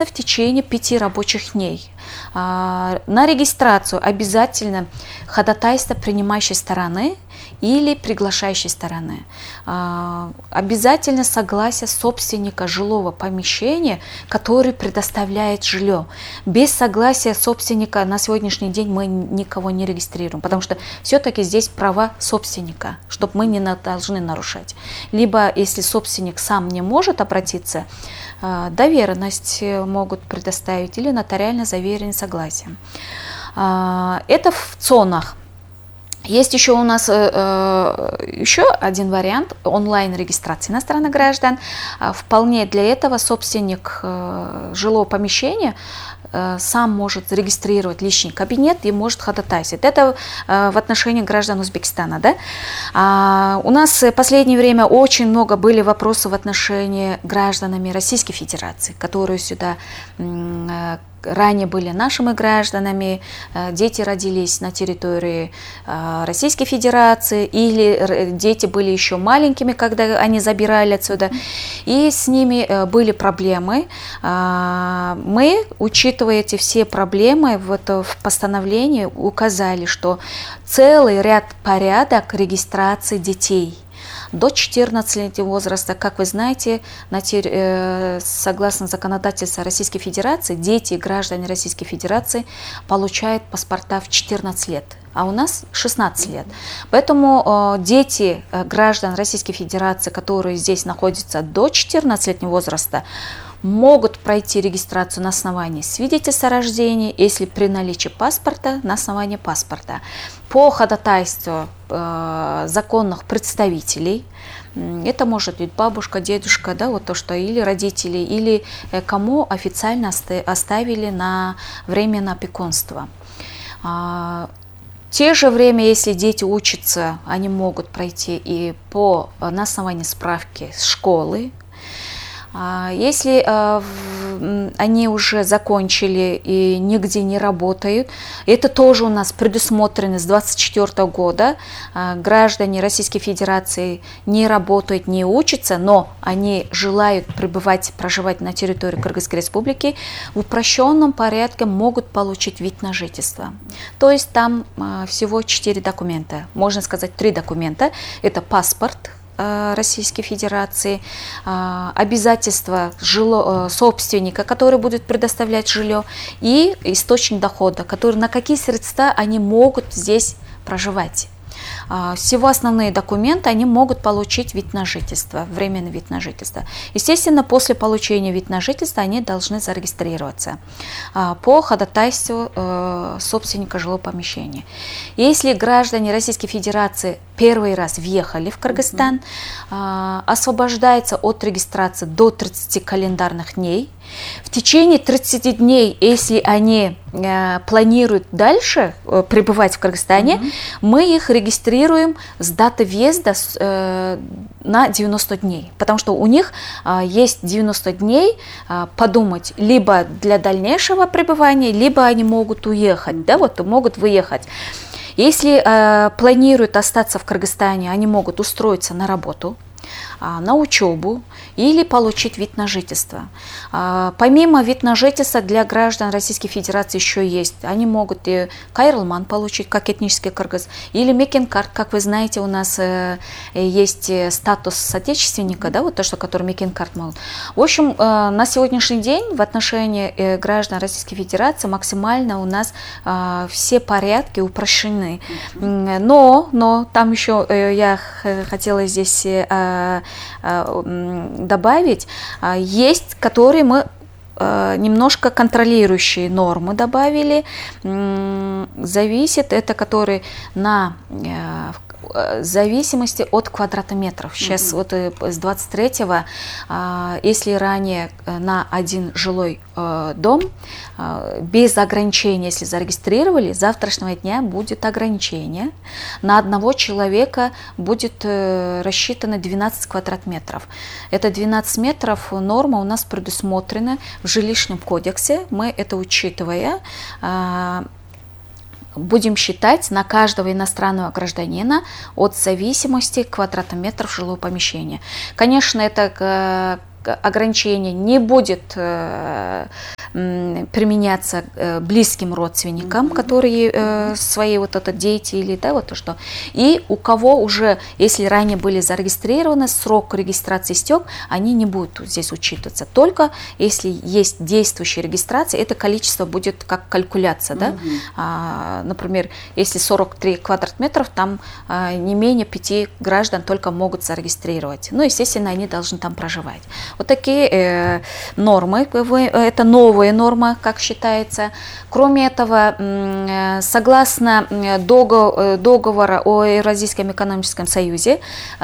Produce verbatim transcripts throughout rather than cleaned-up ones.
в течение пяти рабочих дней. На регистрацию обязательно ходатайство принимающей стороны или приглашающей стороны. Обязательно согласие собственника жилого помещения, который предоставляет жилье. Без согласия собственника на сегодняшний день мы никого не регистрируем, потому что все-таки здесь права собственника, чтобы мы не должны нарушать. Либо, если собственник сам не может обратиться, доверенность могут предоставить или нотариально заверенное согласие. Это в ЦОНах. Есть еще у нас э, еще один вариант онлайн-регистрации иностранных граждан. Вполне для этого собственник э, жилого помещения э, сам может зарегистрировать личный кабинет и может ходатайствовать. Это э, в отношении граждан Узбекистана. Да? А, у нас в последнее время очень много были вопросов в отношении гражданами Российской Федерации, которые сюда э, ранее были нашими гражданами, дети родились на территории Российской Федерации, или дети были еще маленькими, когда они забирали отсюда, и с ними были проблемы. Мы, учитывая эти все проблемы, вот в постановлении указали, что целый ряд порядок регистрации детей до четырнадцатилетнего возраста, как вы знаете, согласно законодательству Российской Федерации, дети и граждане Российской Федерации получают паспорта в четырнадцать лет, а у нас шестнадцать лет. Поэтому дети граждан Российской Федерации, которые здесь находятся до четырнадцатилетнего возраста, могут пройти регистрацию на основании свидетельства о рождении, если при наличии паспорта, на основании паспорта. По ходатайству э, законных представителей, это может быть бабушка, дедушка, да, вот то, что или родители, или э, кому официально оставили на временное опекунство. А, в те же время, если дети учатся, они могут пройти и по, на основании справки с школы. Если э, они уже закончили и нигде не работают, это тоже у нас предусмотрено с две тысячи двадцать четвёртого года. Э, граждане Российской Федерации не работают, не учатся, но они желают пребывать, проживать на территории Кыргызской Республики, в упрощенном порядке могут получить вид на жительство. То есть там э, всего четыре документа, можно сказать три документа. Это паспорт Российской Федерации, обязательства жило, собственника, который будет предоставлять жилье, и источник дохода, который, на какие средства они могут здесь проживать. Всего основные документы, они могут получить вид на жительство, временный вид на жительство. Естественно, после получения вид на жительство они должны зарегистрироваться по ходатайству собственника жилого помещения. Если граждане Российской Федерации первый раз въехали в Кыргызстан, mm-hmm. освобождается от регистрации до тридцати календарных дней. В течение тридцати дней, если они э, планируют дальше э, пребывать в Кыргызстане, mm-hmm. мы их регистрируем с даты въезда э, на девяносто дней, потому что у них э, есть девяносто дней э, подумать либо для дальнейшего пребывания, либо они могут уехать, да, вот могут выехать. Если э, планируют остаться в Кыргызстане, они могут устроиться на работу, на учебу или получить вид на жительство. Помимо вид на жительство для граждан Российской Федерации еще есть. Они могут и кайрылман получить, как этнический кыргыз, или мекенкарт, как вы знаете, у нас есть статус соотечественника, да, вот то, что который мекенкарт могут. В общем, на сегодняшний день в отношении граждан Российской Федерации максимально у нас все порядки упрощены. Но, но там еще я хотела здесь добавить, есть, которые мы немножко контролирующие нормы добавили, зависит это, которые на в зависимости от квадратометров. Сейчас mm-hmm. вот с двадцать третьего, если ранее на один жилой дом без ограничения, если зарегистрировали, с завтрашнего дня будет ограничение. На одного человека будет рассчитано двенадцать квадратметров. Это двенадцать метров норма у нас предусмотрена в жилищном кодексе. Мы это учитывая, будем считать на каждого иностранного гражданина от зависимости квадратометров жилого помещения. Конечно, это ограничение не будет применяться близким родственникам, mm-hmm. которые э, свои вот это дети или да, вот то что. И у кого уже, если ранее были зарегистрированы, срок регистрации истек, они не будут здесь учитываться. Только если есть действующая регистрация, это количество будет как калькуляция. Mm-hmm. Да? А, например, если сорок три квадратметров, там а, не менее пяти граждан только могут зарегистрировать. Ну, естественно, они должны там проживать. Вот такие э, нормы, это новая норма, как считается. Кроме этого, согласно договора о Евразийском экономическом союзе,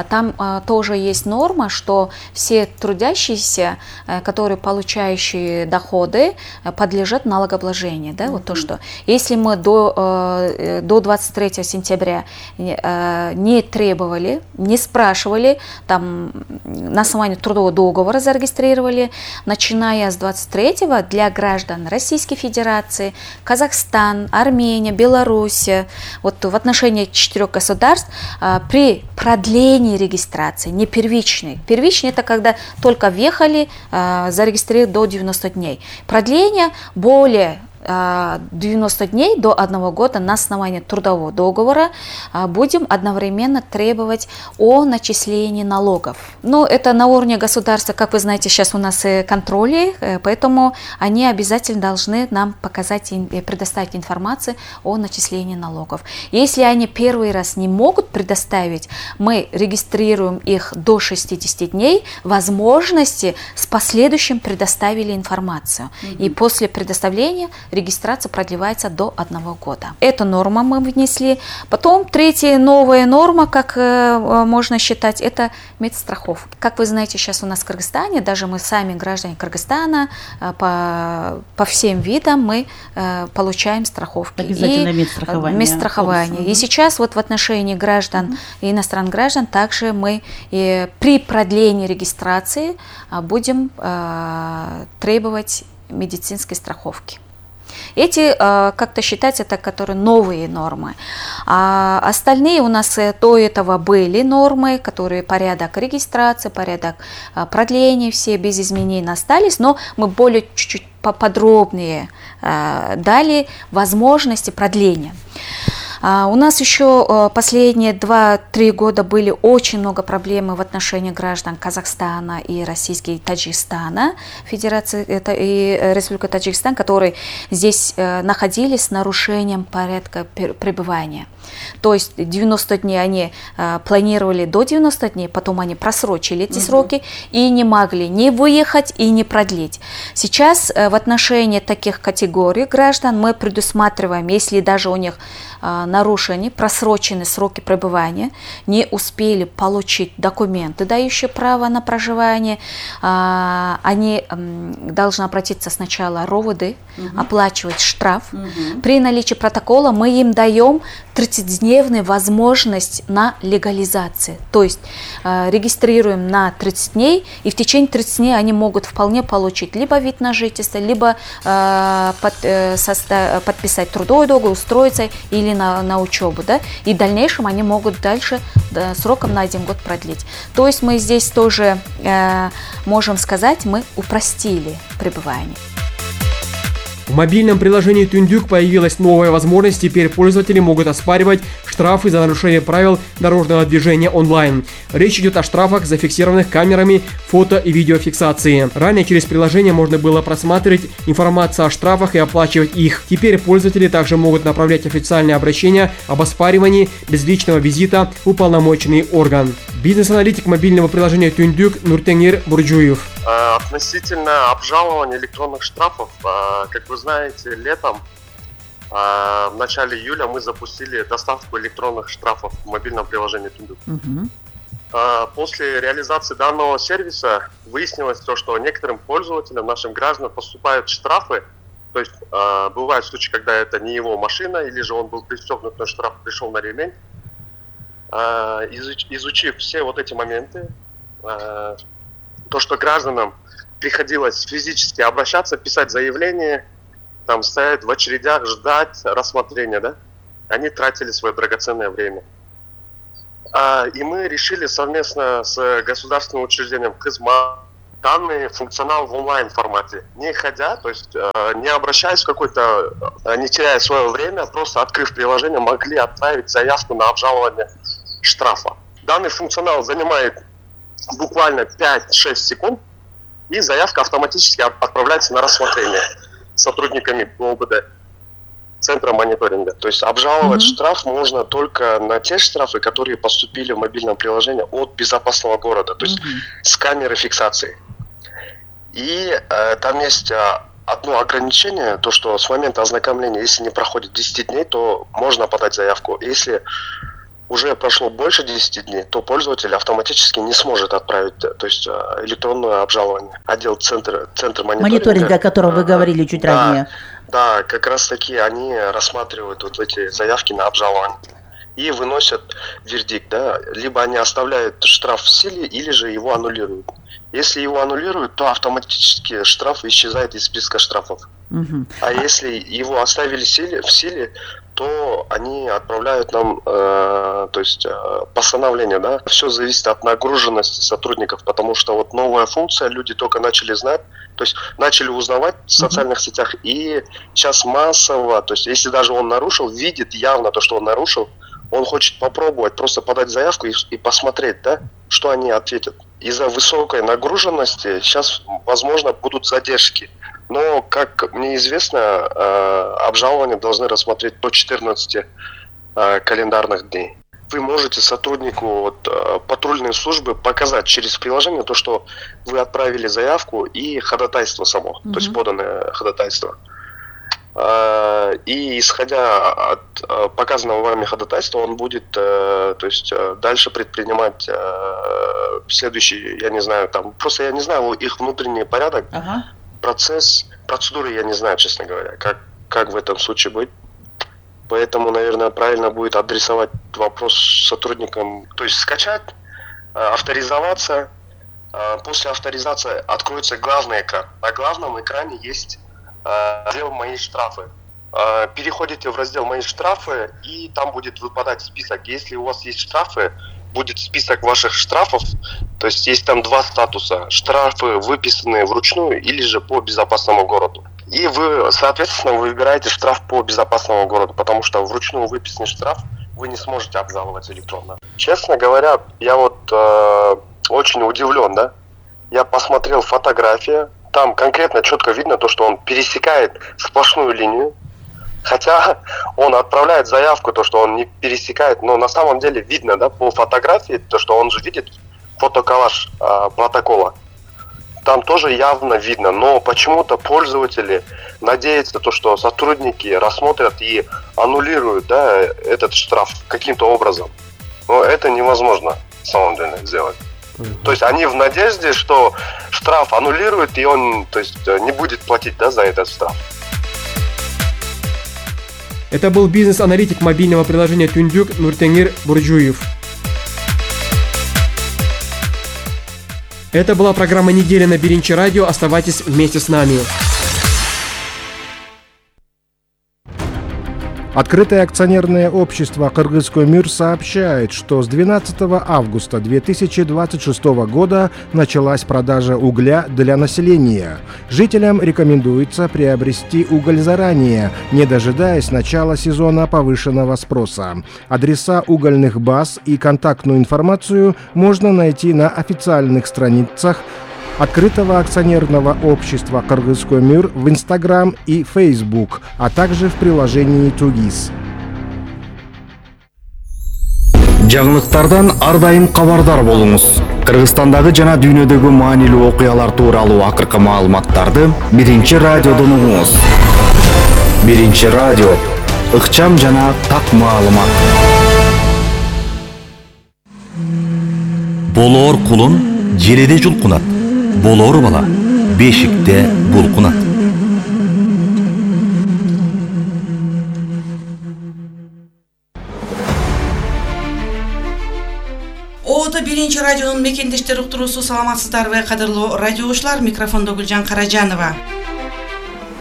там тоже есть норма, что все трудящиеся, которые получающие доходы, подлежат налогообложению. Да? Mm-hmm. Вот то, что если мы до, до двадцать третьего сентября не требовали, не спрашивали, там, на основании трудового договора зарегистрировали, начиная с двадцать третьего для граждан Российской Федерации, Казахстан, Армения, Беларусь, вот в отношении четырех государств при продлении регистрации, не первичной. Первичный это когда только въехали, зарегистрировали до девяноста дней. Продление более девяноста дней до одного года на основании трудового договора будем одновременно требовать о начислении налогов. Но это на уровне государства, как вы знаете, сейчас у нас контроли, поэтому они обязательно должны нам показать и предоставить информацию о начислении налогов. Если они первый раз не могут предоставить, мы регистрируем их до шестидесяти дней, возможности с последующим предоставили информацию. Mm-hmm. И после предоставления регистрация продлевается до одного года. Эту норму мы внесли. Потом третья новая норма, как э, можно считать, это медстраховка. Как вы знаете, сейчас у нас в Кыргызстане, даже мы сами, граждане Кыргызстана, э, по, по всем видам мы э, получаем страховки. Обязательно и, медстрахование. медстрахование. И сейчас вот в отношении граждан mm-hmm. и иностранных граждан также мы э, при продлении регистрации э, будем э, требовать медицинской страховки. Эти как-то считать это, которые новые нормы. А остальные у нас до этого были нормы, которые порядок регистрации, порядок продления, все без изменений остались, но мы более чуть-чуть поподробнее дали возможности продления. У нас еще последние два-три года были очень много проблем в отношении граждан Казахстана и Российской Таджикистана, Федерации это и Республика Таджикистан, которые здесь находились с нарушением порядка пребывания. То есть девяносто дней они планировали до девяноста дней, потом они просрочили эти mm-hmm. сроки и не могли ни выехать и не продлить. Сейчас в отношении таких категорий граждан мы предусматриваем, если даже у них нарушены, просрочены сроки пребывания, не успели получить документы, дающие право на проживание, они должны обратиться сначала РОВД, угу. оплачивать штраф. Угу. При наличии протокола мы им даем тридцатидневную возможность на легализацию. То есть регистрируем на тридцать дней, и в течение тридцати дней они могут вполне получить либо вид на жительство, либо под, состав, подписать трудовой договор, устроиться или на, на учебу, да, и в дальнейшем они могут дальше да, сроком на один год продлить. То есть мы здесь тоже э, можем сказать, мы упростили пребывание. В мобильном приложении Түндүк появилась новая возможность, теперь пользователи могут оспаривать штрафы за нарушение правил дорожного движения онлайн. Речь идет о штрафах, зафиксированных камерами фото- и видеофиксации. Ранее через приложение можно было просматривать информацию о штрафах и оплачивать их. Теперь пользователи также могут направлять официальные обращения об оспаривании без личного визита в уполномоченный орган. Бизнес-аналитик мобильного приложения Түндүк Нуртенгир Бурджуев. Относительно обжалования электронных штрафов, как вы знаете, летом, в начале июля мы запустили доставку электронных штрафов в мобильном приложении Түндүк. Uh-huh. После реализации данного сервиса выяснилось то, что некоторым пользователям, нашим гражданам, поступают штрафы. То есть бывают случаи, когда это не его машина, или же он был пристегнут, но штраф пришел на ремень. Изучив все вот эти моменты, то, что гражданам приходилось физически обращаться, писать заявление, там стоять в очередях, ждать рассмотрения, да, они тратили свое драгоценное время. А, и мы решили совместно с государственным учреждением КызМА, данный функционал в онлайн формате, не ходя, то есть э, не обращаясь в какой-то, э, не теряя свое время, просто открыв приложение, могли отправить заявку на обжалование штрафа. Данный функционал занимает буквально пять-шесть секунд, и заявка автоматически отправляется на рассмотрение сотрудниками ОБД, центра мониторинга. То есть обжаловать mm-hmm. штраф можно только на те штрафы, которые поступили в мобильном приложении от безопасного города, то есть mm-hmm. с камеры фиксации. И э, там есть э, одно ограничение, то что с момента ознакомления, если не проходит десять дней, то можно подать заявку. Если уже прошло больше десяти дней, то пользователь автоматически не сможет отправить, то есть э, электронное обжалование. Отдел центра, центр мониторинга. Мониторинга, о котором вы говорили чуть да, ранее. Да, как раз таки они рассматривают вот эти заявки на обжалование и выносят вердикт, да, либо они оставляют штраф в силе, или же его аннулируют. Если его аннулируют, то автоматически штраф исчезает из списка штрафов. Угу. А если его оставили в силе, в силе то они отправляют нам, э, то есть э, постановление, да. Все зависит от нагруженности сотрудников, потому что вот новая функция, люди только начали знать, то есть начали узнавать в социальных uh-huh. сетях, и сейчас массово, то есть если даже он нарушил, видит явно то, что он нарушил, он хочет попробовать просто подать заявку и, и посмотреть, да, что они ответят. Из-за высокой нагруженности сейчас, возможно, будут задержки. Но, как мне известно, э, обжалование должны рассмотреть до четырнадцати э, календарных дней. Вы можете сотруднику вот, э, патрульной службы показать через приложение то, что вы отправили заявку и ходатайство само, mm-hmm. то есть поданное ходатайство. Э, и исходя от э, показанного вами ходатайства, он будет э, то есть, э, дальше предпринимать э, следующий, я не знаю, там просто я не знаю их внутренний порядок. Uh-huh. Процесс, процедуры я не знаю, честно говоря, как, как в этом случае быть. Поэтому, наверное, правильно будет адресовать вопрос сотрудникам, то есть скачать, авторизоваться. После авторизации откроется главный экран. На главном экране есть раздел «Мои штрафы». Переходите в раздел «Мои штрафы», и там будет выпадать список. Если у вас есть штрафы, будет список ваших штрафов, то есть есть там два статуса: штрафы, выписанные вручную, или же по безопасному городу. И вы, соответственно, выбираете штраф по безопасному городу, потому что вручную выписанный штраф вы не сможете обжаловать электронно. Честно говоря, я вот э, очень удивлен, да. Я посмотрел фотографии, там конкретно четко видно то, что он пересекает сплошную линию. Хотя он отправляет заявку, то, что он не пересекает, но на самом деле видно, да, по фотографии, то, что он же видит фотоколлаж э, протокола. Там тоже явно видно, но почему-то пользователи надеются, то, что сотрудники рассмотрят и аннулируют, да, этот штраф каким-то образом. Но это невозможно на самом деле сделать. То есть они в надежде, что штраф аннулируют, и он, то есть, не будет платить, да, за этот штраф. Это был бизнес-аналитик мобильного приложения Түндүк Нуртеңир Буржуев. Это была программа «Неделя» на Биринчи радио. Оставайтесь вместе с нами. Открытое акционерное общество «Кыргызкөмүр» сообщает, что с двенадцатого августа две тысячи двадцать шестого года началась продажа угля для населения. Жителям рекомендуется приобрести уголь заранее, не дожидаясь начала сезона повышенного спроса. Адреса угольных баз и контактную информацию можно найти на официальных страницах Открытого акционерного общества «Кыргызкөмүр» в Instagram и Facebook, а также в приложении Тугис. Жаңылыктардан ар дайым кабардар болуңуз. Кыргызстандагы жана дүйнөдөгү маанилүү окуялар тууралуу акыркы маалыматтарды Биринчи радиодон угуңуз. Биринчи радио, ыкчам жана так маалымат. Болоор кулун желеде жулкунат. Болоор бала бешикте булкунат. Оото Биринчи радионун мекендештер уктуруусу, саламатсыздарбы кадырлуу радиоочулар, микрофондо Гүлжан Каражанова.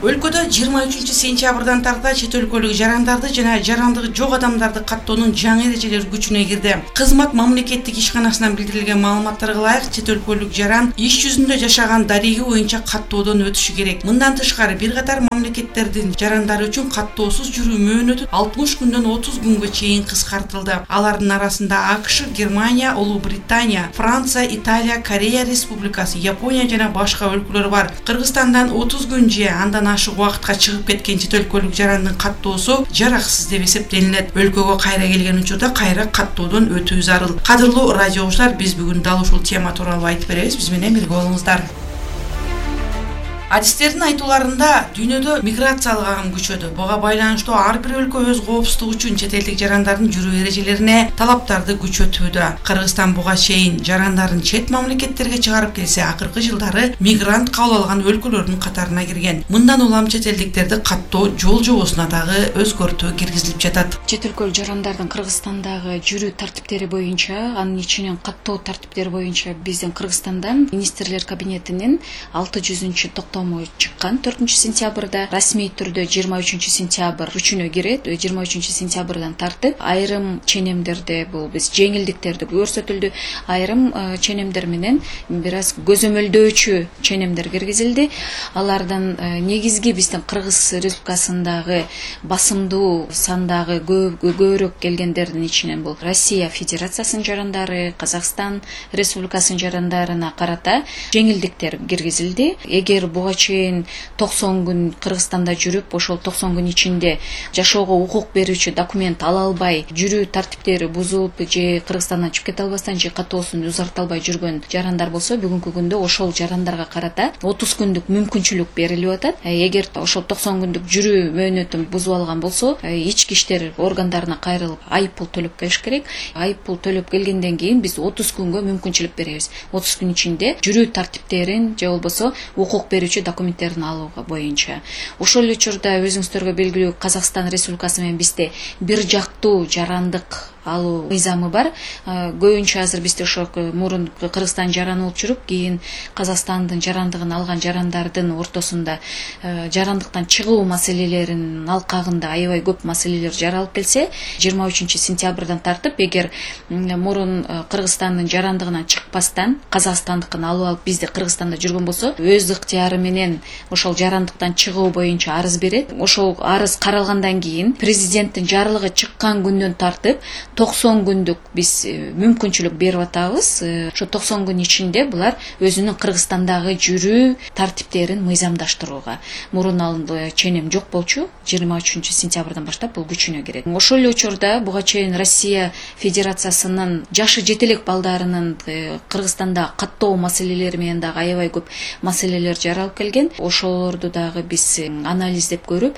Өлкөдө жыйырма үчүнчү сентябрдан тарта чет өлкөлүк жарандарды жана жарандыгы жок адамдарды каттоонун жаңы эрежелери күчүнө кирди. Кызмат мамлекеттик ишканасынан билдирилген маалыматтарга ылайык, чет өлкөлүк жаран иш жүзүндө жашаган дареги боюнча каттоодон өтүшү керек. Мындан тышкары бир катар мамлекеттердин жарандары үчүн каттоосуз жүрүү мөөнөтү алтымыш күндөн отуз күнгө чейин кыскартылды. Алардын арасында АКШ, Германия, Улуу Британия, Франция, Италия, Корея Республикасы, Япония жана башка өлкөлөр бар. Кыргызстандан отуз күн же андан ашык убакытка чыгып кеткен чет өлкөлүк жарандын каттоосу жараксыз деп эсептелинет. Өлкөгө кайра келген учурда кайра каттоодон өтүү зарыл. Кадырлуу радио угуучулар, биз бүгүн дал ушул тема тууралуу айтып беребиз. Биз менен бирге болуңуздар. Адистердин айтууларында дүйнөдө миграциялык агым күчөдү. Буга байланыштуу ар бир өлкө өз коопсуздугу үчүн чет элдик жарандардын жүрүү эрежелерине талаптарды күчөтүүдө. Кыргызстан буга чейин жарандарын чет мамлекеттерге чыгарып келсе, акыркы жылдары мигрант кабыл алган өлкөлөрдүн катарына кирген. Мындан улам чет элдиктерди каттоо жол жобосуна дагы өзгөртүү киргизилип жатат. Чет өлкөлүк жарандардын Кыргызстандагы жүрүү тартиптери боюнча, анын ичинен каттоо тартиптери боюнча биздин Кыргызстандан министрлер кабинетинин алты жүзүнчү токтому чыккан төртүнчү сентябрда. Расмий түрдө жыйырма үчүнчү сентябрь күчүнө кирет. жыйырма үчүнчү сентябрдан тартып айрым ченемдерде бул биз жеңилдиктерди көрсөтүлдү. Айрым ченемдер менен бир аз көзөмөлдөөчү ченемдер киргизилди. Алардын негизги биздин Кыргыз Республикасындагы басымдуу сандагы көбүрөөк келгендердин ичинен бул Россия Федерациясынын жарандары, Казакстан Республикасынын жарандарына карата жеңилдиктер киргизилди. Эгер буга чейин токсон күн Кыргызстанда жүрүп, ошол токсон күн ичинде жашоого укук берүүчү документ ала албай, жүрүү тартиптери бузулуп же Кыргызстандан чыгып кете албастан же каттоосун узарта албай жүргөн жарандар болсо, бүгүнкү күндө ошол жарандарга карата отуз күндүк мүмкүнчүлүк берилип атат. Эгер ошол токсон күндүк жүрүү мөөнөтүн бузуп алган болсо, ички иштер органдарына кайрылып айып пул төлөп келиш керек. Айып пул төлөп келгенден кийин биз отуз күнгө мүмкүнчүлүк беребиз. отуз күн ичинде жүрүү тартиптерин же болбосо укук берүүчү документтерин алууга боюнча. Ошол учурда өзүңүздөргө белгилүү Казакстан Республикасы менен бизде бир жактуу жарандык алуу мыйзамы бар. Көбүнчө азыр бизде ошо мурун Кыргызстан жараны болуп жүрүп, кийин Казакстандын жарандыгын алган жарандардын ортосунда жарандыктан чыгуу маселелеринин алкагында аябай көп маселелер жаралып келсе, жыйырма үчүнчү сентябрдан тартып, эгер мурун Кыргызстандын жарандыгынан чыкпастан Казакстандыкын алып алып бизде Кыргызстанда жүргөн болсо, өз ыктыяры менен ошол жарандыктан чыгуу боюнча арыз берет. Ошол арыз каралгандан кийин президенттин жарлыгы чыккан күндөн тартып токсон күндүк биз мүмкүнчүлүк берип атабыз. Ошо токсон күн ичинде булар өзүнүн Кыргызстандагы жүрүү тартиптерин мыйзамдаштырууга. Мурун алынды ченем жок болчу, жыйырма үчүнчү сентябрдан баштап бул күчүнө кирет. Ошол эле учурда буга чейин Россия Федерациясынын жашы жете элек балдарынын Кыргызстанда каттоо маселелери менен дагы аябай көп маселелер жаралып келген. Ошолорду дагы биз анализдеп көрүп,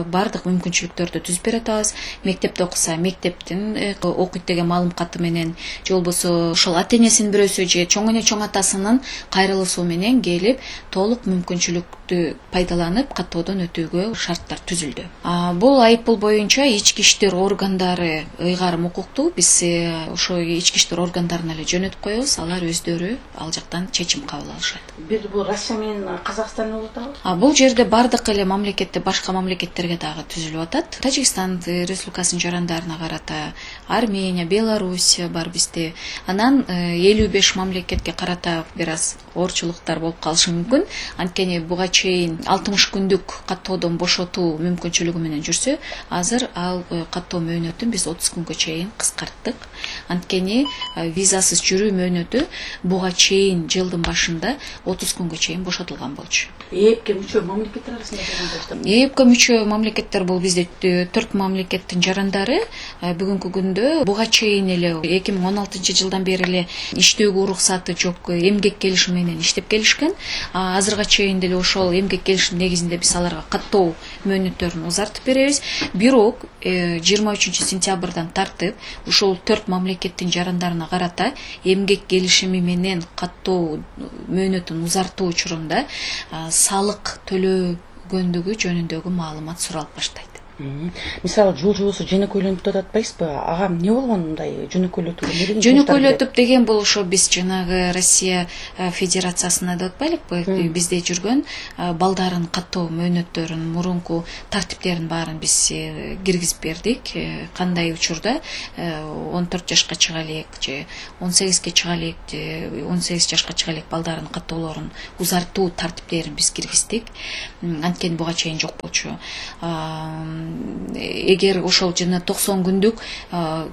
бардык мүмкүнчүлүктөрдү түзүп бере атабыз. Мектепте окуса, мектептин окуйт деген маалым каты менен, же болбосо ошол ата-энесинин бирөөсү же чоң эне чоң атасынын кайрылуусу менен келип толук мүмкүнчүлүктү пайдаланып каттоодон өтүүгө шарттар түзүлдү. Бул айып пул боюнча ички иштер органдары ыйгарым укуктуу. Биз ошо ички иштер органдарына эле жөнөтүп коебуз. Алар өздөрү ал жактан чечим кабыл алышат. Бир бул Россия менен Казакстан болуп атабы? Бул жерде бардык эле мамлекетте башка мамлекеттерге дагы түзүлүп атат. Тажикстан Республикасынын жарандарына карата Армения, Белоруссия бар бизде. Анан элүү беш мамлекетке карата бир аз орчулуктар болуп калышы мүмкүн. Анткени буга чейин алтымыш күндүк каттоодон бошотуу мүмкүнчүлүгү менен жүрсө, азыр ал каттоо мөөнөтүн биз отуз күнгө чейин кыскарттык. Анткени визасыз жүрүү мөөнөтү буга чейин жылдын башында отуз күнгө чейин бошотулган болчу. ЭЭПке мүчө мамлекеттер арасында жарандар. ЭЭПке мүчө мамлекеттер бул бизде төрт мамлекеттин жарандары. Бүгүнкү күндө буга чейин эле эки миң он алтынчы жылдан бери эле иштөөгө уруксаты жок эмгек келишими менен иштеп келишкен. Азырга чейин деле ошол эмгек келишим негизинде биз аларга каттоо мөөнөттөрүн узартып беребиз. Бирок жыйырма үчүнчү сентябрдан тартып ушул төрт мамлекеттин жарандарына карата эмгек келишими менен каттоо мөөнөтүн узартуу учурунда салык төлөгөндүгү жөнүндөгү маалымат суралып баштайт. Мисалы жол жобосу жөнөкөйлөнүп деп атпайсызбы? Ага эмне болгон мындай жөнөкөйлөтүүгө? Жөнөкөйлөтүп деген бул ошо биз жанагы Россия Федерациясына деп атпайлыкпы? Бизде жүргөн балдарын каттоо мөөнөттөрүн, мурунку тартиптерин баарын биз киргизип бердик. Кандай учурда он төрт жашка чыга элек же он сегизге чыга элек же он сегиз жашка чыга элек балдарын каттоолорун узартуу тартиптерин биз киргиздик. Анткени буга чейин жок болчу. Эгер ошол жана токсон күндүк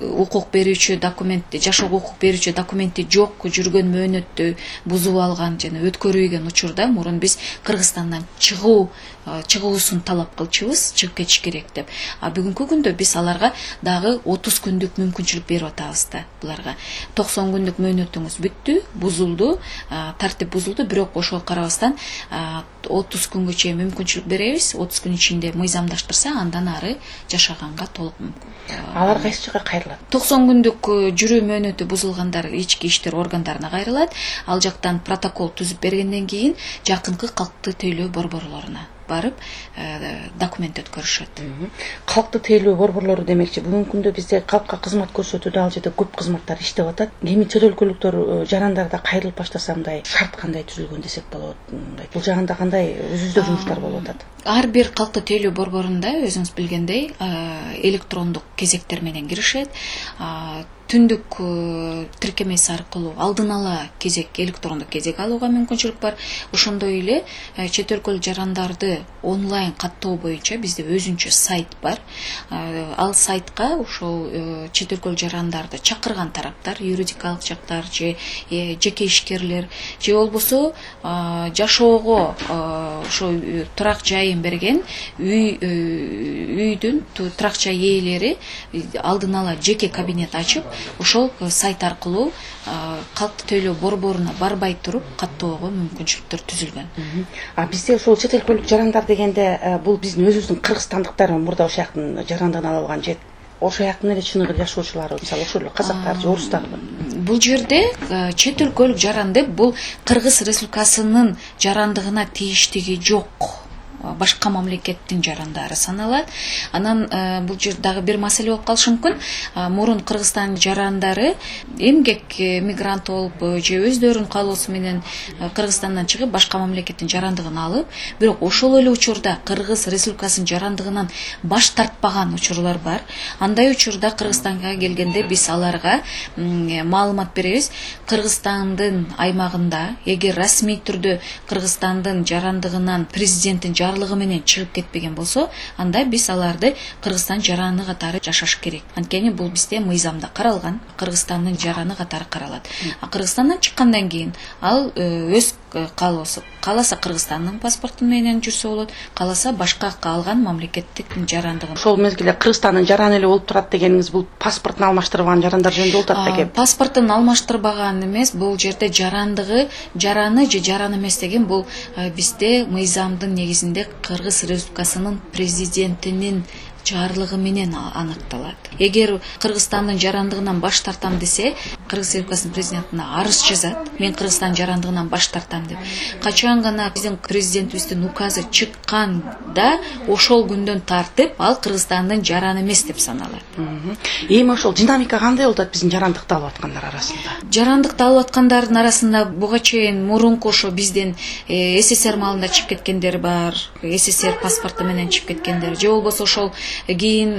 укук берүүчү документ, жашоого укук берүүчү документи жок жүргөн мөөнөттү бузуп алган жана өткөрүүгөн учурда мурун биз Кыргызстандан чыгуу чыгуусун талап кылчубуз, чыгып кетиш керек деп. А бүгүнкү күндө биз аларга дагы отуз күндүк мүмкүнчүлүк берип атабыз да буларга. токсон күндүк мөөнөтүңүз бүттү, бузулду, тартип бузулду, бирок ошого карабастан отуз күнгө чейин мүмкүнчүлүк беребиз. отуз күн ичинде мыйзамдаштырса, андан ары жашаганга толук мүмкүн. Алар кайсы жака кайрылат? токсон күндүк жүрүү мөөнөтү бузулгандар ички иштер органдарына кайрылат. Ал жактан протокол түзүп бергенден кийин жакынкы калктуу тейлөө борборлоруна барып документ өткөрүшөт. Калктуу тейлөө борборлору демекчи, бүгүнкү күндө бизде калкка кызмат көрсөтүүдө ал жерде көп кызматтар иштеп атат. Эми чет өлкөлүктөр жарандарда кайрылып баштаса мындай шарт кандай түзүлгөн десек болот? Бул жагында кандай өзүздө жумуштар болуп атат? Ар бир калктуу тейлөө борборунда өзүңүз билгендей электрондук кезектер менен киришет. Түндүк тиркемеси аркылуу алдын ала кезек, электрондук кезек алууга мүмкүнчүлүк бар. Ошондой эле чет өлкөлүк жарандарды онлайн каттоо боюнча бизде өзүнчө сайт бар. Ал сайтка ошол чет өлкөлүк жарандарды чакырган тараптар, юридикалык жактар же жеке ишкерлер же болбосо жашоого ошо турак жайын берген үй үйдүн турак жай ээлери алдын ала жеке кабинет ачып, ошол сайт аркылуу калктуу тейлөө борборуна барбай туруп каттоого мүмкүнчүлүктөр түзүлгөн. А бизде ошол чет өлкөлүк жарандар дегенде бул биздин өзүбүздүн кыргызстандыктар мурда ошол жактын жарандыгын ала алган же ошол жактын эле чыныгы жашоочулары, мисалы ошол эле казактар же орустарбы? Бул жерде чет өлкөлүк жаранды бул Кыргыз Республикасынын жарандыгына тийиштиги жок. Башка мамлекеттин жарандары саналат. Анан бул жер дагы бир маселе болуп калышы мүмкүн. Мурун Кыргызстан жарандары эмгек мигрант болуп же өздөрүнүн каалоосу менен Кыргызстандан чыгып башка мамлекеттин жарандыгын алып, бирок ошол эле учурда Кыргыз Республикасынын жарандыгынан баш тартпаган учурлар бар. Андай учурда Кыргызстанга келгенде биз аларга маалымат беребиз. Кыргызстандын аймагында эгер расмий түрдө Кыргызстандын жарандыгынан президенттин жарлыгы менен чыгып кетпеген болсо, анда биз аларды Кыргызстан жараны катары жашаш керек. Анткени бул бизде мыйзамда каралган, Кыргызстандын жараны катары каралат. А Кыргызстандан чыккандан кийин ал өз каалоосу, кааласа Кыргызстандын паспорту менен жүрсө болот, кааласа башка калган мамлекеттик жарандыгын. Ошол мезгилде Кыргызстандын жараны эле болуп турат дегениңиз бул паспортун алмаштырбаган жарандар жөнүндө болуп атат экен. Паспортун алмаштырбаган эмес, бул жерде жарандыгы, жараны же жаран эмес деген бул бизде мыйзамдын негизинде Кыргыз Республикасынын президентинин жарлыгы менен аныкталат. Эгер Кыргызстандын жарандыгынан баш тартам десе, Кыргыз Республикасынын президентине арыз жазат. Мен Кыргызстан жарандыгынан баш тартам деп. Качан гана биздин президентибиздин указы чыкканда, ошол күндөн тартып ал Кыргызстандын жараны эмес деп саналат. Эми ошол динамика кандай болуп атат биздин жарандыкты алып аткандар арасында? Жарандыкты алып аткандардын арасында буга чейин мурунку ошо биздин СССР маалында чыгып кеткендер бар, СССР паспорту менен чыгып кеткендер, же болбосо ошол кийин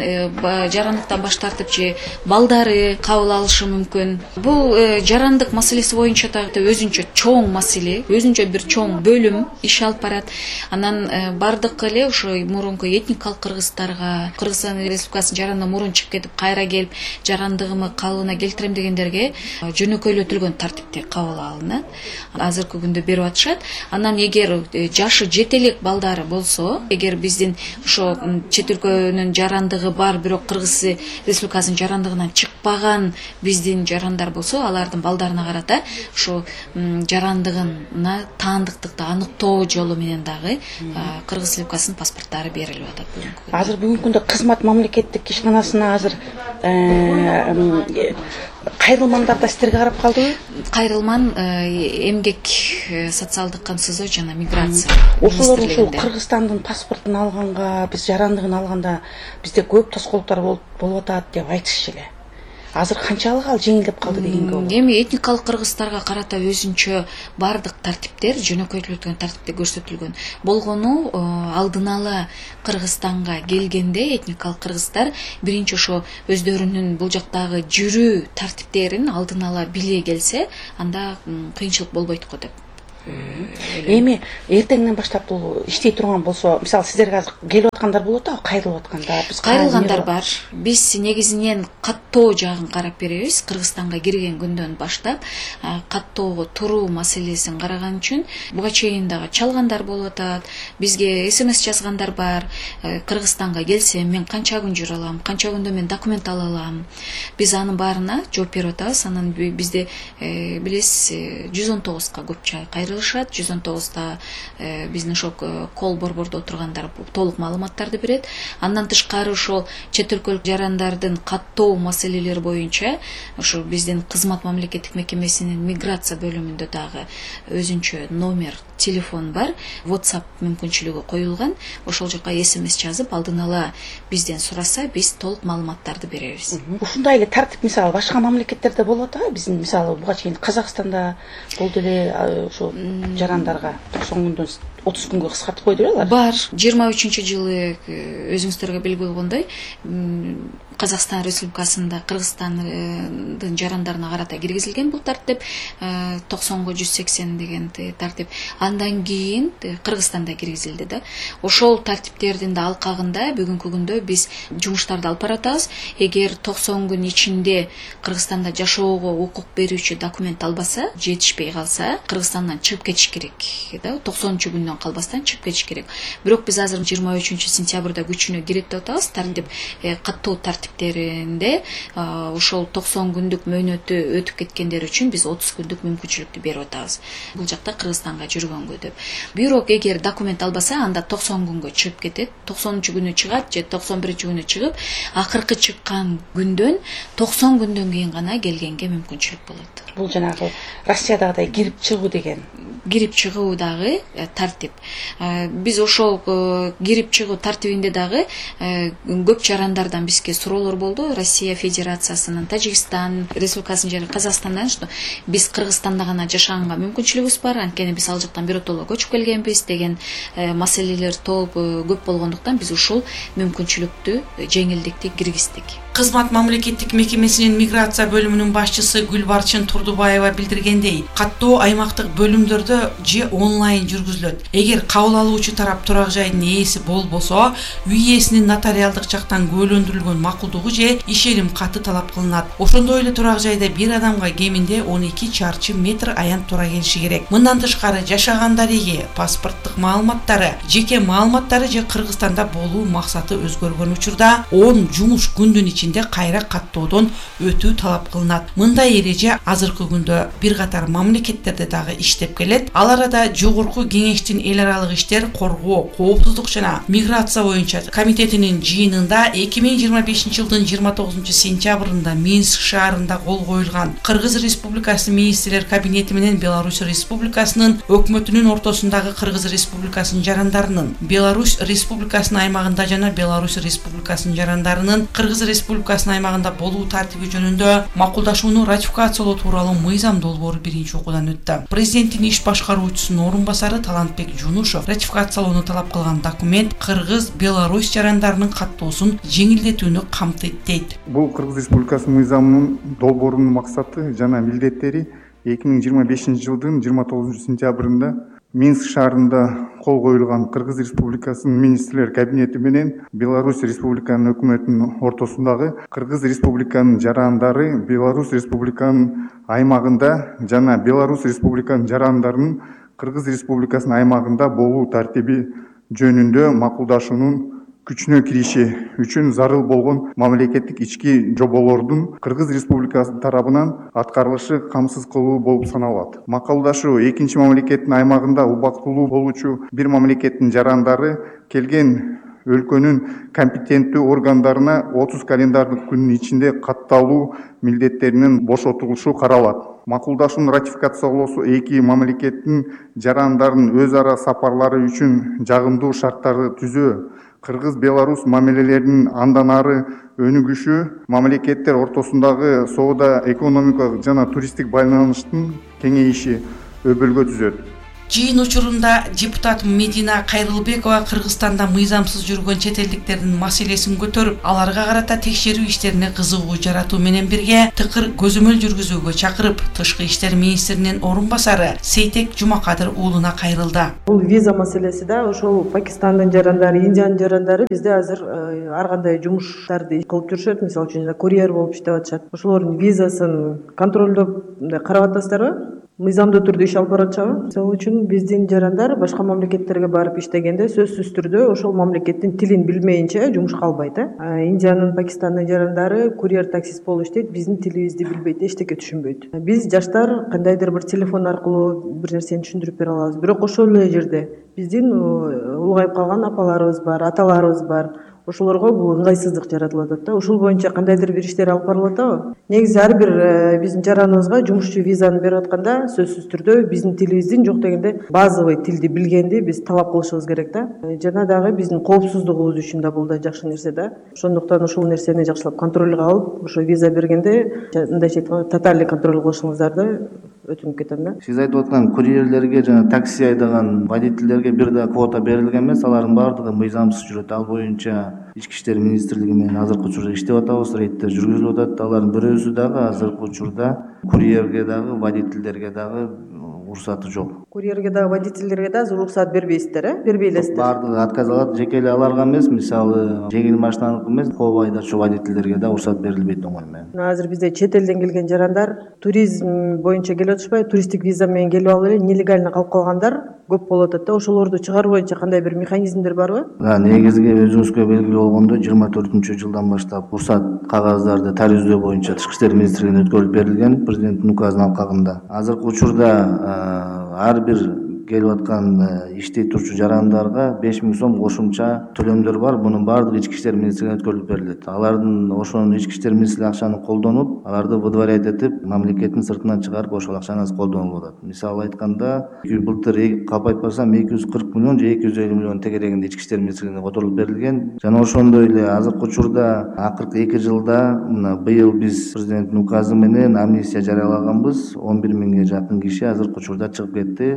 жарандыктан баш тартып же балдары кабыл алышы мүмкүн. Бул жарандык маселеси боюнча да өзүнчө чоң маселе, өзүнчө бир чоң бөлүм иш алып барат. Анан бардык эле ошо мурунку этникалык кыргыздарга, Кыргызстан Республикасынын жаранына мурун чыгып кетип кайра келип жарандыгымы калыбына келтирем дегендерге жөнөкөйлөтүлгөн тартипте кабыл алынат. Азыркы күндө берип атышат. Анан эгер жашы жете элек балдары болсо, эгер биздин ошо чет өлкөнүн жарандыгы бар, бирок Кыргыз Республикасынын жарандыгынан чыкпаган биздин жарандар болсо, алардын балдарына карата ошо жарандыгына таандыктыкты аныктоо жолу менен дагы Кыргыз Республикасынын паспорттары берилип атат. Азыр бүгүнкү күндө кызмат мамлекеттик ишканасына азыр кайрылмандар да силерге карап калдыбы? Кайрылман эмгек социалдык камсыздоо жана миграция. Ошолор ушул Кыргызстандын паспортун алганга, биз жарандыгын алганда бизде көп тоскоолдуктар болуп атат деп айтышчу эле. Азыр канчалык ал жеңилдеп калды дегенге болот. Эми этникалык кыргыздарга карата өзүнчө бардык тартиптер жөнөкөйтүлгөн тартипте көрсөтүлгөн. Болгону алдын ала Кыргызстанга келгенде этникалык кыргыздар биринчи ошо өздөрүнүн бул жактагы жүрүү тартиптерин алдын ала биле келсе, анда кыйынчылык болбойт го деп. Эми эртеңден баштап бул иштей турган болсо, мисалы сиздерге азыр келип аткандар болот а, кайрылып аткандар, биз кайрылгандар бар. Биз негизинен каттоо жагын карап беребиз. Кыргызстанга кирген күндөн баштап каттоого туруу маселесин караган үчүн буга чейин дагы чалгандар болуп атат. Бизге смс жазгандар бар. Кыргызстанга келсем мен канча күн жүрө алам, канча күндө мен документ ала алам. Биз анын баарына жооп берип атабыз. Анан бизде билесиз жүз он тогузга көп кайрылышат. жүз он тогузда биздин ошо кол борбордо отургандар толук маалыматтарды берет. Андан тышкары ошол чет өлкөлүк жарандардын каттоо маселелери боюнча ошо биздин кызмат мамлекеттик мекемесинин миграция бөлүмүндө дагы өзүнчө номер телефон бар, WhatsApp мүмкүнчүлүгү коюлган. Ошол жака смс жазып алдын ала бизден сураса, биз толук маалыматтарды беребиз. Ушундай эле тартип мисалы башка мамлекеттерде болот а? Биздин мисалы буга чейин Казакстанда болду эле ошо жарандарга токсон күндөн отуз күнгө кыскартып койду беле? Бар. жыйырма үчүнчү жылы өзүңүздөргө белгилүү болгондой Казакстан Республикасында Кыргызстандын жарандарына карата киргизилген бул тартип, токсонго жүз сексен деген тартип. Андан кийин Кыргызстанда киргизилди да. Ошол тартиптердин да алкагында бүгүнкү күндө биз жумуштарды алып баратабыз. Эгер токсон күн ичинде Кыргызстанда жашоого укук берүүчү документ албаса, жетишпей калса, Кыргызстандан чыгып кетиш керек да. токсонунчу күндөн калбастан чыгып кетиш керек. Бирок биз азыр жыйырма үчүнчү сентябрда күчүнө кирет деп атабыз. Тартип каттоо тартиптеринде ошол токсон күндүк мөөнөтү өтүп кеткендер үчүн биз отуз күндүк мүмкүнчүлүктү берип атабыз. Бул жакта Кыргызстанга жүргөнгө деп. Бирок эгер документ албаса, анда токсон күнгө чыгып кетет. токсонунчу күнү чыгат же токсон биринчи күнү чыгып, акыркы чыккан күндөн токсон күндөн кийин гана келгенге мүмкүнчүлүк болот. Бул жанагы Россиядагыдай кирип чыгуу деген. Кирип чыгуу дагы тартип. Биз ошол кирип чыгуу тартибинде дагы көп жарандардан бизге суроолор болду. Россия Федерациясынын, Тажикстан Республикасынын жери Казакстандан, что биз Кыргызстанда гана жашаганга мүмкүнчүлүгүбүз бар, анткени биз ал жактан биротоло көчүп келгенбиз деген маселелер толуп көп болгондуктан биз ушул мүмкүнчүлүктү, жеңилдикти киргиздик. Кызмат мамлекеттик мекемесинин миграция бөлүмүнүн башчысы Гүлбарчын Турдубаева билдиргендей, каттоо аймактык бөлүмдөрдө же онлайн жүргүзүлөт. Эгер кабыл алуучу тарап турак жайдын ээси болбосо, үй ээсинин нотариалдык жактан күбөлөндүрүлгөн макулдугу же ишеним каты талап кылынат. Ошондой эле турак жайда бир адамга кеминде он эки чарчы метр аянт тура келиши керек. Мындан тышкары жашагандариги, паспорттук маалыматтары, жеке маалыматтары же Кыргызстанда болуу максаты өзгөргөн учурда он жумуш күндүн ичинде кайра каттоодон өтүү талап кылынат. Мындай эреже азыркы күндө бир катар мамлекеттерде дагы иштеп келет. Ал арада жогорку кеңештин эл аралык иштер, коргоо, коопсуздук жана миграция боюнча комитетинин жыйынында эки миң жыйырма бешинчи жылдын жыйырма тогузунчу сентябрында Минск шаарында кол коюлган Кыргыз Республикасынын министрлер кабинети менен Беларусь Республикасынын өкмөтүнүн ортосундагы Кыргыз Республикасынын жарандарынын, Беларусь Республикасынын аймагында жана Беларусь Республикасынын жарандарынын Кыргыз Республикасынын аймагында болуу тартиби жөнүндө макулдашууну ратификациялоо тууралуу мыйзам долбоору биринчи окуудан өттү. Президенттин иш башкаруучусунун орун басары Талантбек Жунушов ратификациялоону талап кылган документ Кыргыз, Беларусь жарандарынын каттоосун жеңилдетүүнү камтыйт дейт. Бул Кыргыз Республикасынын мыйзамынын долбоорунун максаты жана милдеттери эки миң жыйырма бешинчи жылдын жыйырма тогузунчу сентябрында Минск шаарында кол коюлган Кыргыз Республикасынын министрлер кабинети менен Беларусь Республиканын өкмөтүнүн ортосундагы Кыргыз Республиканын жарандары Беларусь Республиканын аймагында жана Беларусь Республиканын жарандарынын Кыргыз Республикасынын аймагында болуу тартиби жөнүндө макулдашуунун күчүнө кириши үчүн зарыл болгон мамлекеттик ички жоболордун Кыргыз Республикасы тарабынан аткарылышы камсыз кылуу болуп саналат. Макулдашуу экинчи мамлекеттин аймагында убактылуу болуучу бир мамлекеттин жарандары келген өлкөнүн компетенттүү органдарына отуз календардык күнүн ичинде катталуу милдеттеринен бошотулушу каралат. Макулдашууну ратификациялоосу эки мамлекеттин жарандардын өз ара сапарлары үчүн жагымдуу шарттарды түзөө, Кыргыз-Беларусь мамилелеринин андан ары өнүгүшү, мамлекеттер ортосундагы соода, экономикалык жана туристтик байланыштын кеңейиши өбөлгө түзөт. Жыйын учурунда депутат Медина Кайрылбекова Кыргызстанда мыйзамсыз жүргөн чет элдиктердин маселесин көтөрүп, аларга карата текшерүү иштерине кызыгуу жаратуу менен бирге тыкыр көзөмөл жүргүзүүгө чакырып, Тышкы иштер министринин орун басары Сейтек Жумакадыр уулуна кайрылды. Бул виза маселеси да ошол Пакистандын жарандары, Индиянын жарандары бизде азыр ар кандай жумуштарды кылып жүрүшөт. Мисалы үчүн курьер болуп иштеп атышат. Ошолордун визасын контролдоп карап атасыздарбы? Мыйзамдуу түрдө иш алып баратышабы? Ошол үчүн биздин жарандар башка мамлекеттерге барып иштегенде сөзсүз түрдө ошол мамлекеттин тилин билмейинче жумушка албайт. э. Индиянын, Пакистандын жарандары курьер таксист болуп иштейт, биздин тилибизди билбейт, эчтеке түшүнбөйт. Биз жаштар кандайдыр бир телефон аркылуу бир нерсени түшүндүрүп бере алабыз. Бирок ошол эле жерде биздин улгайып калган апаларыбыз бар, аталарыбыз бар. Ошолорго бул ыңгайсыздык жаратылып атат да. Ошол боюнча кандайдыр бир иштер алып барылып атабы? Негизи ар бир биздин жараныбызга жумушчу визаны берип атканда сөзсүз түрдө биздин тилибиздин жок дегенде базовый тилди билгенди биз талап кылышыбыз керек да. Жана дагы биздин коопсуздугубуз үчүн да бул да жакшы нерсе да. Ошондуктан ушул нерсени жакшылап контролго алып, ошо виза бергенде мындайча айтканда тотальный контроль кылышыңыздарды өтүнүп кетем да. Сиз айтып аткан курьерлерге жана такси айдаган водительдерге бир да квота берилген эмес, алардын баардыгы мыйзамсыз жүрөт. Ал боюнча Ички иштер министрлиги менен азыркы учурда иштеп атабыз, рейдтер жүргүзүлүп атат. Алардын бирөөсү дагы азыркы учурда курьерге дагы, водительдерге дагы уруксаты жок. Курьерге дагы, водительдерге да уруксат бербейсиздер, э? Бербейлесиздер. Баардыгы отказ алат, жеке эле аларга эмес, мисалы жеңил машинаныкы эмес, коо айдоочу водительдерге да уруксат берилбейт оңой менен. Азыр бизде чет элден келген жарандар туризм боюнча келип атышпай, туристтик виза менен келип алып эле нелегально калып калгандар көп болуп атат да. Ошолорду чыгаруу боюнча кандай бир механизмдер барбы? Да, негизги өзүңүзгө белгилүү болгондой жыйырма төртүнчү жылдан баштап уруксат кагаздарды тарүздөө боюнча Тышкы иштер министрлигине өткөрүлүп берилген президенттин указынын алкагында. Азыркы учурда ар бир келип аткан иштей турчу жарандарга беш миң сом кошумча төлөмдөр бар. Мунун баардыгы Ички иштер министрлигине өткөрүлүп берилет. Алардын ошонун Ички иштер министрлиги акчаны колдонуп, аларды выдворять этип, мамлекеттин сыртынан чыгарып ошол акчаны колдонуп атат. Мисалы айтканда, былтыр калп айтпасам эки жүз кырк миллион же эки жүз элүү миллион тегерегинде Ички иштер министрлигине которулуп берилген. Жана ошондой эле азыркы учурда акыркы эки жылда мына быйыл биз президенттин указы менен амнистия жарыялаганбыз. он бир миңге жакын киши азыркы учурда чыгып кетти.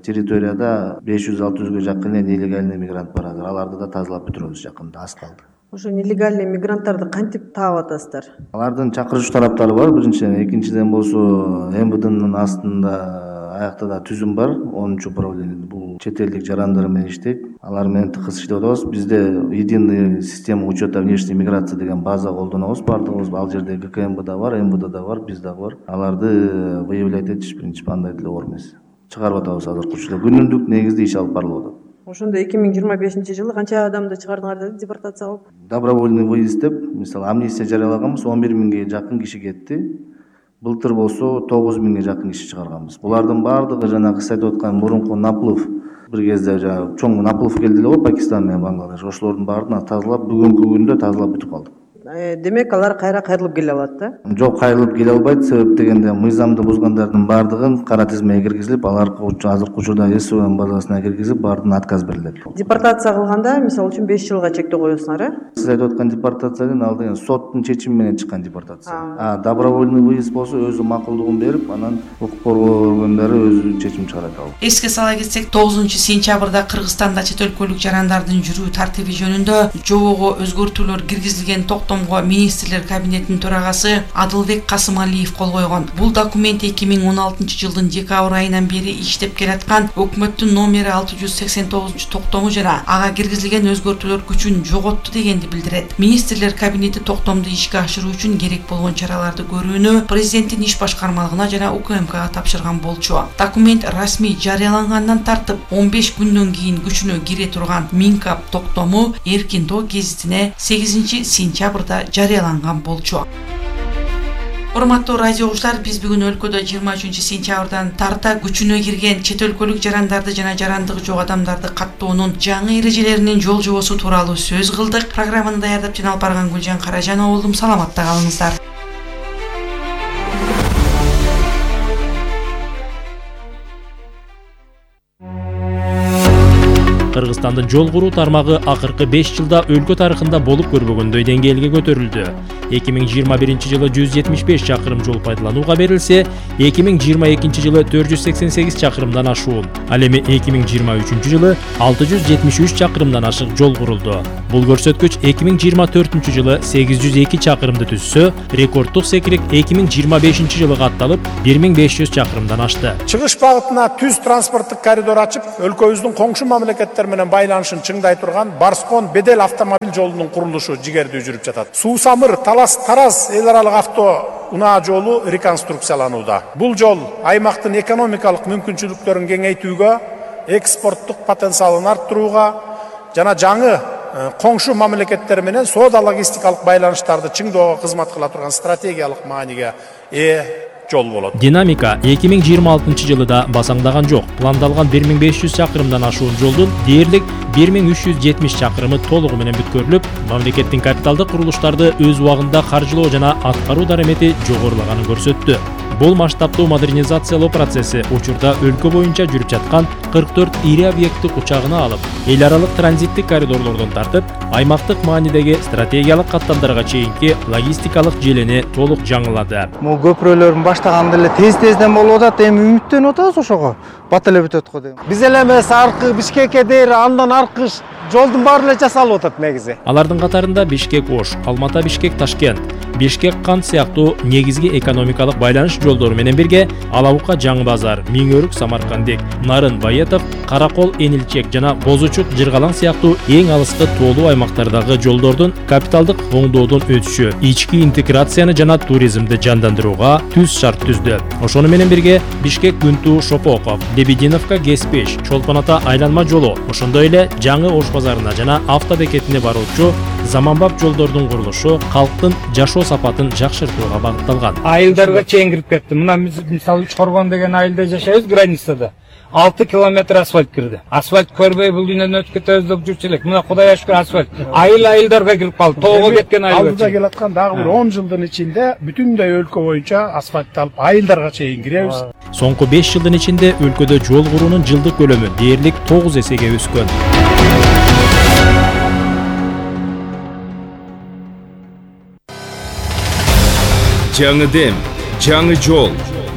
Территорияда беш жүз алты жүзгө жакын эле нелегальный мигрант бар азыр. Аларды да тазалап бүтүрөбүз жакында, аз калды. Ошо нелегальный мигранттарды кантип таап атасыздар? Алардын чакырыш тараптары бар, биринчиден. Экинчиден болсо эм вэ дэнин астында аякта да түзүм бар, онунчу управление. Бул чет элдик жарандар менен иштейт. Алар менен тыкыз иштеп атабыз. Бизде единый система учета внешней миграции деген база колдонобуз. Баардыгыбыз ал жерде гэ ка эм бэ да бар, эм вэ дэ да бар, биз дагы бар. Аларды выявлять этиш принцип андай деле оор эмес. Чыгарып атабыз азыркы учурда. Күнүмдүк негизде иш алып барылып атат. Ошондо эки миң жыйырма бешинчи жылы канча адамды чыгардыңар деди депортация кылып? Добровольный выезд деп, мисалы амнистия жарыялаганбыз, он бир миңге жакын киши кетти. Былтыр болсо тогуз миңге жакын киши чыгарганбыз. Булардын баардыгы жанагы сиз айтып аткан мурунку наплыв, бир кезде жанагы чоң наплыв келди эле го Пакистан менен Бангладеш. Ошолордун баарын тазалап, бүгүнкү күндө тазалап бүтүп калдык. Демек алар кайра кайрылып келе алат да? Жок, кайрылып келе албайт. Себеп дегенде мыйзамды бузгандардын баардыгын кара тизмеге киргизилип, аларга азыркы учурда эс вэ эм базасына киргизип, баардыгына отказ берилет. Депортация кылганда, мисалы үчүн беш жылга чектөө коесуңар, э? Сиз айтып аткан депортацияден ал деген соттун чечими менен чыккан депортация. А добровольный выезд болсо өзү макулдугун берип, анан укук коргоо органдары өзү чечим чыгарат ал. Эске сала кетсек, тогузунчу сентябрда Кыргызстанда чет өлкөлүк жарандардын жүрүү тартиби жөнүндө жобого өзгөртүүлөр киргизилген токтомго министрлер кабинетинин төрагасы Адылбек Касымалиев кол койгон. Бул документ эки миң он алтынчы жылдын декабрь айынан бери иштеп келаткан өкмөттүн номери алты жүз сексен тогузунчу токтому жана ага киргизилген өзгөртүүлөр күчүн жоготту дегенди билдирет. Министрлер кабинети токтомду ишке ашыруу үчүн керек болгон чараларды көрүүнү президенттин иш башкармалыгына жана у ка эм кга тапшырган болчу. Документ расмий жарыялангандан тартып он беш күндөн кийин күчүнө кире турган Минкап токтому Эркин Тоо гезитине сегизинчи сентябрда жарыяланган болчу. Урматтуу радио угуучулар, биз бүгүн өлкөдө жыйырма үчүнчү сентябрдан тарта күчүнө кирген чет өлкөлүк жарандарды жана жарандыгы жок адамдарды каттоонун жаңы эрежелеринин жол жобосу тууралуу сөз кылдык. Программаны даярдап жана алып барган Гүлжан Каражанова болдум. Саламатта калыңыздар. Кыргызстандын жол куруу тармагы акыркы беш жылда өлкө тарыхында болуп көрбөгөндөй деңгээлге көтөрүлдү. эки миң жыйырма биринчи жылы жүз жетимиш беш чакырым жол пайдаланууга берилсе, эки миң жыйырма экинчи жылы төрт жүз сексен сегиз чакырымдан ашуун. Ал эми эки миң жыйырма үчүнчү жылы алты жүз жетимиш үч чакырымдан ашык жол курулду. Бул көрсөткүч эки миң жыйырма төртүнчү жылы сегиз жүз эки чакырымды түзсө, рекорддук секирек эки миң жыйырма бешинчи жылы катталып бир миң беш жүз чакырымдан ашты. Чыгыш багытына түз транспорттук коридор ачып, өлкөбүздүн коңшу мамлекеттер менен байланышын чыңдай турган Барскон Бедел автомобиль жолунун курулушу жигердүү жүрүп жатат. Суу-Самыр, Талас-Тараз эл аралык авто унаа жолу реконструкцияланууда. Бул жол аймактын экономикалык мүмкүнчүлүктөрүн кеңейтүүгө, экспорттук потенциалын арттырууга жана жаңы коңшу мамлекеттер менен соода логистикалык байланыштарды чыңдоого кызмат кыла турган стратегиялык мааниге ээ жол болот. Динамика эки миң жыйырма алтынчы жылда басаңдаган жок. Пландалган бир миң беш жүз чакырымдан ашуун жолдун дээрлик бир миң үч жүз жетимиш чакырымы толугу менен бүткөрүлүп, мамлекеттин капиталдык курулуштарды өз убагында каржылоо жана аткаруу дарамети жогорулаганын көрсөттү. Бул масштабтуу модернизациялоо процесси учурда өлкө боюнча жүрүп жаткан кырк төрт ири объектти кучагына алып, эл аралык транзиттик коридорлордон тартып, аймактык маанидеги стратегиялык каттамдарга чейинки логистикалык желени толук жаңылады. Бул көпүрөлөрдүн баштаганда эле тез-тезден болуп атат, эми үмүттөнүп атабыз ошого. Бат эле бүтөт го дейм. Биз эле эмес аркы Бишкекке дейр, андан аркы жолдун баары эле жасалып атат негизи. Алардын катарында Бишкек-Ош, Алмата-Бишкек-Ташкент, Бишкек-Кант сыяктуу негизги экономикалык байланыш жолдору менен бирге Алабука-Жаңы базар, Миңөрүк-Самаркандек, Нарын-Байетов, Каракол-Энилчек жана Бозучук-Жыргалаң сыяктуу эң алыскы тоолуу аймактардагы жолдордун капиталдык оңдоодон өтүшү ички интеграцияны жана туризмди жандандырууга түз шарт түздү. Ошону менен бирге Бишкек-Күнту-Шопоков, Лебединовка-Геспеш, Чолпон-Ата айланма жолу, ошондой эле Жаңы Ош базарына жана автобекетине баруучу заманбап жолдордун курулушу калктын жашоо сапатын жакшыртууга багытталган. Айылдарга чейин кирип кетти. Мына мисалы Чорбон деген айылда жашайбыз, границада. алты километр асфальт кирди. Асфальт көрбөй бул дүйнөдөн өтүп кетебиз деп жүрчү элек. Мына Кудайга шүкүр асфальт. Айыл айылдарга кирип калды. Тоого кеткен айыл. Алдыда келаткан дагы бир он жылдын ичинде бүтүндөй өлкө боюнча асфальтталып, айылдарга чейин киребиз. Соңку беш жылдын ичинде өлкөдө жол куруунун жылдык көлөмү дээрлик тогуз эсеге өскөн. Жаңы дем, жаңы жол,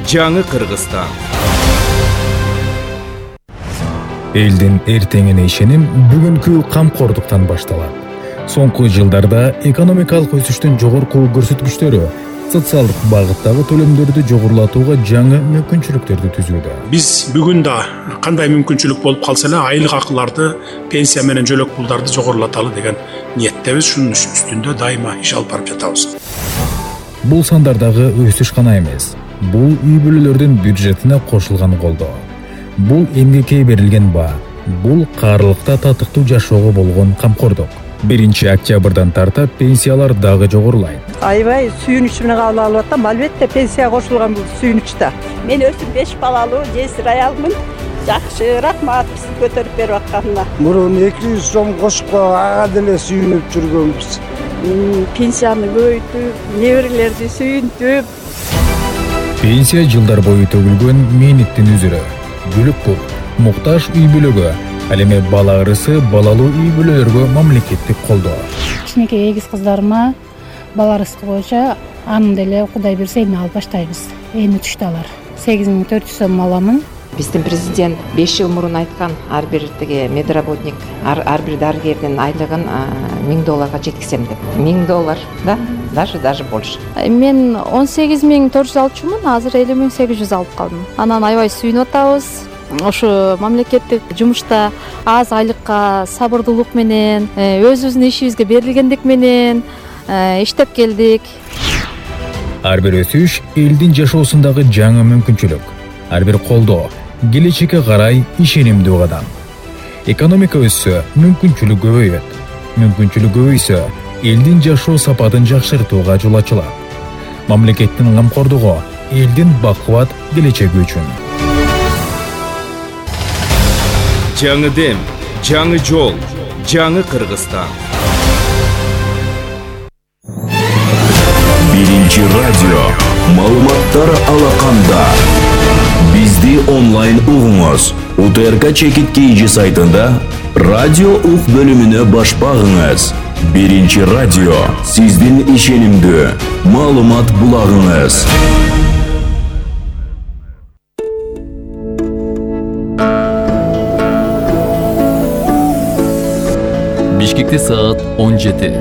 жаңы Кыргызстан. Элдин эртеңине ишеним бүгүнкү камкордуктан башталат. Соңку жылдарда экономикалык өсүштүн жогорку көрсөткүчтөрү социалдык багыттагы төлөмдөрдү жогорулатууга жаңы мүмкүнчүлүктөрдү түзүүдө. Биз бүгүн да кандай мүмкүнчүлүк болуп калса эле айлык акыларды, пенсия менен жөлөк пулдарды жогорулаталы деген ниеттебиз. Шунун үстүндө дайыма иш алып барып жатабыз. Бул сандардагы өсүш гана эмес, бул үй бүлөлөрдүн бюджетине кошулган колдоо. Бул эмгекке берилген баа, бул каарылыкта татыктуу жашоого болгон камкордук. биринчи октябрдан тарта пенсиялар дагы жогорулайт. Аябай сүйүнүч менен кабыл алып атам. Албетте пенсия кошулган бул сүйүнүч да. Мен өзүм беш балалуу жесир аялмын. Жакшы, рахмат бизди көтөрүп берип атканына. Мурун эки жүз сом кошуп ага деле сүйүнүп жүргөнбүз. Пенсияны көбөйтүп, неберелерди сүйүнтүп. Пенсия жылдар бою төгүлгөн мээнеттин үзүрү. Бүлүк бул муктаж үй бүлөгө, ал эми бала ырысы балалуу үй бүлөлөргө мамлекеттик колдоо. Кичинекей эгиз кыздарыма бала ырыскы боюнча анын деле Кудай берсе эми алып баштайбыз. Эми түштү алар. сегиз миң төрт жүз сом аламын. Биздин президент беш жыл мурун айткан, ар бир тиги медработник, ар бир дарыгердин айлыгын миң долларга жеткизем деп. миң доллар, да? Даже даже больше. Мен он сегиз миң төрт жүз алчумун, азыр элүү миң сегиз жүз алып калдым. Анан аябай сүйүнүп атабыз. Ошо мамлекеттик жумушта аз айлыкка сабырдуулук менен, өзүбүздүн ишибизге берилгендик менен иштеп келдик. Ар бир өсүш элдин жашоосундагы жаңы мүмкүнчүлүк. Ар бир колдоо келечекке карай ишенимдүү кадам. Экономика өссө, мүмкүнчүлүк көбөйөт. Мүмкүнчүлүк көбөйсө, элдин жашоо сапатын жакшыртууга жол ачылат. мамлекеттин камкордугу, элдин бакубат келечеги үчүн. Жаңы дем, жаңы жол, жаңы Кыргызстан. Биринчи радио. Маалыматтар алаканда. Бизди онлайн угуңуз. УТРК Чекит Кейжи сайтында радио ук бөлүмүнө баш багыңыз. Биринчи радио. Сиздин ишенимдүү маалымат булагыңыз. Бишкекте саат он жети.